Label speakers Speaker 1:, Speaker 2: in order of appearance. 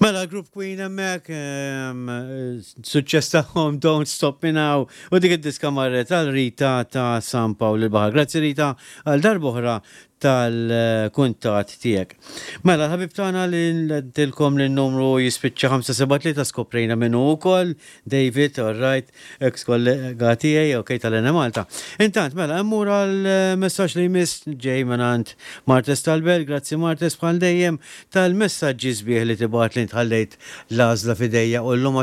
Speaker 1: Mela Group Queen hemmhekk, suċċess tagħhom Don't Stop Me Now u dik id-diska marret għal Rita ta' San Pawl il-Baħar. Grazzi Rita għal darb'oħra tal-kuntatt tiegħek. Mela l-ħabib tagħna li għedtilkom li n-numru jispiċċa 573 skoprejna min hu wkoll, David, all right, ex kollega tiegħi, ok, tal-Enemalta. Intant, mela, immur għal messaġġ li jmiss ġej mingħand Martes tal-Belt, grazzi Martes bħal dejjem tal-messaġġi sbieħ li tibgħat li ntħallejt l-għażla f'idejja u llum.